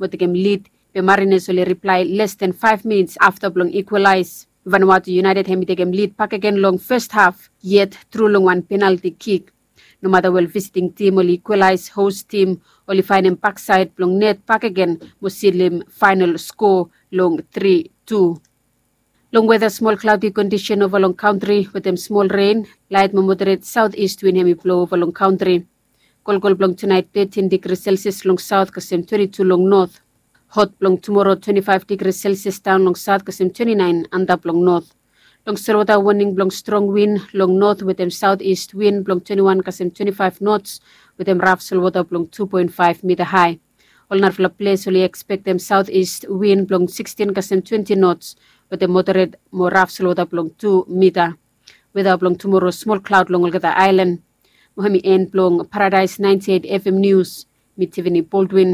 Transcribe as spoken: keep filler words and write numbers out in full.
mo tekem lid, be Mariners oli riplae les den faef minits afta blong ikwalaes. Vanuatu United hem i tekem lid bakegen long fes haf yet tru long wan penalti kik. Nomata wel visiting tim oli ikwalaes, hos tim oli faenem baksaed blong net bakegen mo silim faenol skoa long tri tu. Long weta, smol klaodi kondisen ova long kantri wetem smol ren, laet mo moderet saot ist win hem i blo ova long kantri. Kolkol blong tunaet tetin digri selsias long saot kasem twenti tu long not. Hot blong tumoro twenti faef digri selsias daon long saot kasem twenti naen antap long not. Long solwota woning blong strong win long not wetem saot ist win blong twenti wan kasem twenti faef nots wetem raf solwota blong tu poen faef mita hae. Ol narafala ples oli ekspektem saot ist win blong sikstin kasem twenti nots wetem moderet mo raf solwota blong tu mita. Weta blong tumoro, smol klaod long olgeta aelan. Mo hem i en blong Paradaes naenti eit FM nius. Mi Tivini Boldwin.